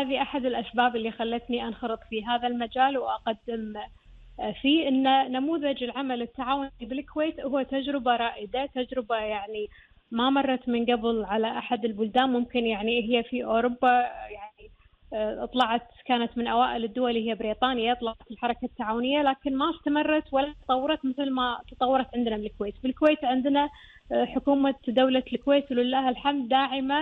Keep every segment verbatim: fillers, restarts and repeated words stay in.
هذه أحد الأسباب اللي خلتني أنخرط في هذا المجال وأقدم فيه. إن نموذج العمل التعاوني بالكويت هو تجربة رائدة، تجربة يعني ما مرت من قبل على أحد البلدان. ممكن يعني هي في أوروبا يعني طلعت، كانت من أوائل الدول هي بريطانيا، طلعت الحركة التعاونية، لكن ما استمرت ولا تطورت مثل ما تطورت عندنا بالكويت. بالكويت عندنا حكومة دولة الكويت ولله الحمد داعمة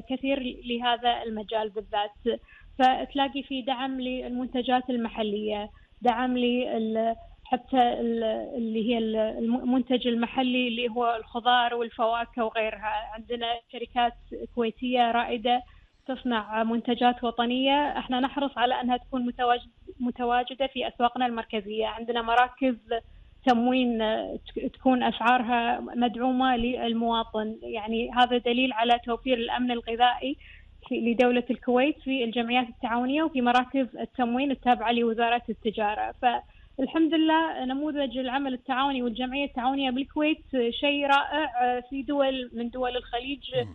كثير لهذا المجال بالذات، فتلاقي في دعم للمنتجات المحلية، دعم لل حتى اللي هي المنتج المحلي اللي هو الخضار والفواكه وغيرها. عندنا شركات كويتية رائدة تصنع منتجات وطنية، احنا نحرص على أنها تكون متواجدة في أسواقنا المركزية. عندنا مراكز تموين تكون أسعارها مدعومة للمواطن، يعني هذا دليل على توفير الأمن الغذائي لدولة الكويت في الجمعيات التعاونية وفي مراكز التموين التابعة لوزارة التجارة. فالحمد لله نموذج العمل التعاوني والجمعية التعاونية بالكويت شيء رائع. في دول من دول الخليج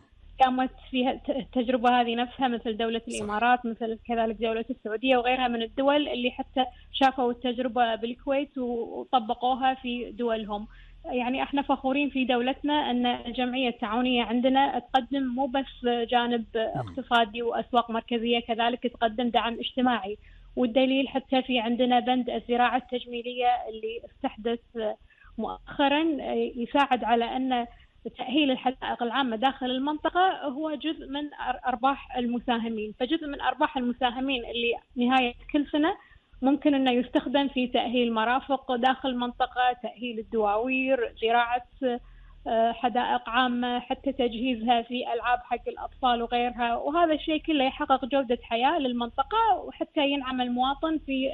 قامت فيها التجربة هذه نفسها، مثل دولة الإمارات، مثل كذلك دولة السعودية وغيرها من الدول اللي حتى شافوا التجربة بالكويت وطبقوها في دولهم. يعني احنا فخورين في دولتنا أن الجمعية التعاونية عندنا تقدم مو بس جانب اقتصادي وأسواق مركزية، كذلك تقدم دعم اجتماعي. والدليل حتى في عندنا بند الزراعة التجميلية اللي استحدث مؤخرا يساعد على أن تأهيل الحدائق العامة داخل المنطقة هو جزء من أرباح المساهمين. فجزء من أرباح المساهمين اللي نهاية كل سنة ممكن أنه يستخدم في تأهيل مرافق داخل المنطقة، تأهيل الدواوير، زراعة حدائق عامة، حتى تجهيزها في ألعاب حق الأطفال وغيرها. وهذا الشيء كله يحقق جودة حياة للمنطقة، وحتى ينعم المواطن في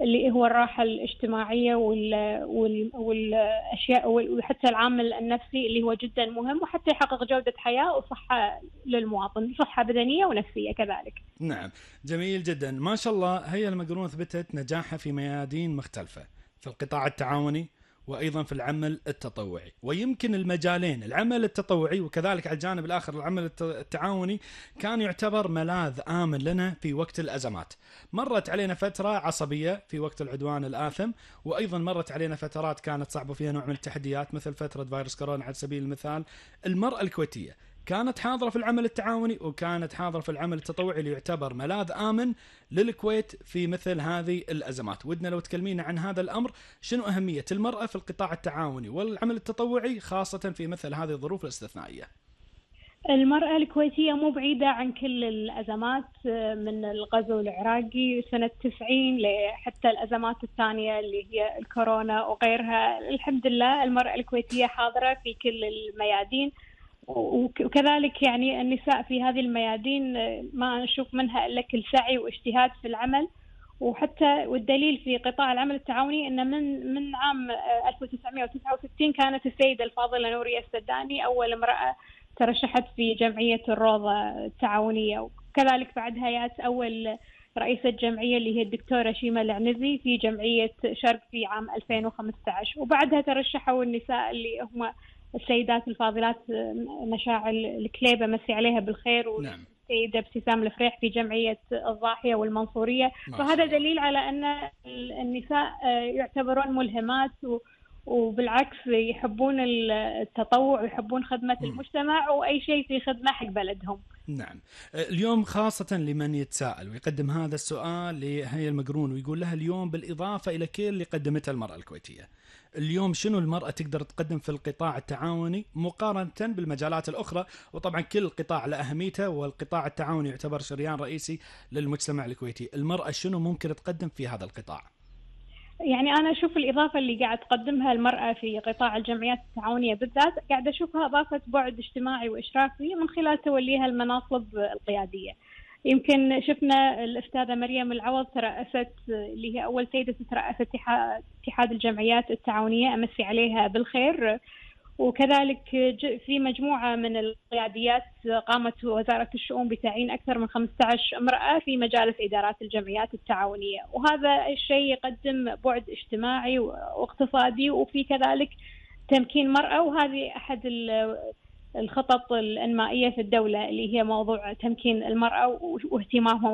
اللي هو الراحة الاجتماعية وال... وال... والأشياء، وحتى العامل النفسي اللي هو جدا مهم، وحتى يحقق جودة حياة وصحة للمواطن، صحة بدنية ونفسية كذلك. نعم، جميل جدا ما شاء الله. هي المقرون ثبتت نجاحها في ميادين مختلفة، في القطاع التعاوني وأيضا في العمل التطوعي. ويمكن المجالين، العمل التطوعي وكذلك على الجانب الآخر العمل التعاوني، كان يعتبر ملاذ آمن لنا في وقت الأزمات. مرت علينا فترة عصبية في وقت العدوان الآثم، وأيضا مرت علينا فترات كانت صعبة فيها نوع من التحديات، مثل فترة فيروس كورونا على سبيل المثال. المرأة الكويتية كانت حاضرة في العمل التعاوني وكانت حاضرة في العمل التطوعي، اللي يعتبر ملاذ آمن للكويت في مثل هذه الأزمات. ودنا لو تكلمينا عن هذا الأمر، شنو أهمية المرأة في القطاع التعاوني والعمل التطوعي خاصة في مثل هذه الظروف الاستثنائية؟ المرأة الكويتية مو بعيدة عن كل الأزمات، من الغزو العراقي سنة تسعين لحتى الأزمات الثانية اللي هي الكورونا وغيرها. الحمد لله المرأة الكويتية حاضرة في كل الميادين، وكذلك يعني النساء في هذه الميادين ما نشوف منها إلا كل سعي واجتهاد في العمل. وحتى والدليل في قطاع العمل التعاوني أن من من عام ألف وتسعمائة وتسعة وستين كانت السيدة الفاضلة نورية السداني أول امرأة ترشحت في جمعية الروضة التعاونية، وكذلك بعدها جاءت أول رئيسة جمعية اللي هي الدكتورة شيماء العنزي في جمعية شرق في عام ألفين وخمسة عشر. وبعدها ترشحوا النساء اللي هم السيدات الفاضلات مشاعل الكليبة مسي عليها بالخير، نعم. والسيدة ابتسام الفريح في جمعية الضاحية والمنصورية. فهذا دليل على أن النساء يعتبرون ملهمات، وبالعكس يحبون التطوع ويحبون خدمة المجتمع وأي شيء في خدمة حق بلدهم. نعم. اليوم خاصة لمن يتساءل ويقدم هذا السؤال لهي المقرون ويقول لها اليوم بالإضافة إلى كل اللي قدمتها المرأة الكويتية، اليوم شنو المرأة تقدر تقدم في القطاع التعاوني مقارنة بالمجالات الأخرى؟ وطبعا كل قطاع له أهميته، والقطاع التعاوني يعتبر شريان رئيسي للمجتمع الكويتي. المرأة شنو ممكن تقدم في هذا القطاع؟ يعني أنا أشوف الإضافة اللي قاعد تقدمها المرأة في قطاع الجمعيات التعاونية بالذات قاعد أشوفها إضافة بعد اجتماعي وإشرافي من خلال توليها المناصب القيادية. يمكن شفنا الأستاذة مريم العوض ترأست، اللي هي أول سيدة ترأس اتحاد الجمعيات التعاونية، أمسي عليها بالخير. وكذلك في مجموعة من القياديات قامت وزارة الشؤون بتعيين أكثر من خمسة عشر امرأة في مجالس إدارات الجمعيات التعاونية، وهذا الشيء يقدم بعد اجتماعي واقتصادي وفي كذلك تمكين مرأة. وهذه أحد الخطط الإنمائية في الدولة اللي هي موضوع تمكين المرأة واهتمامهم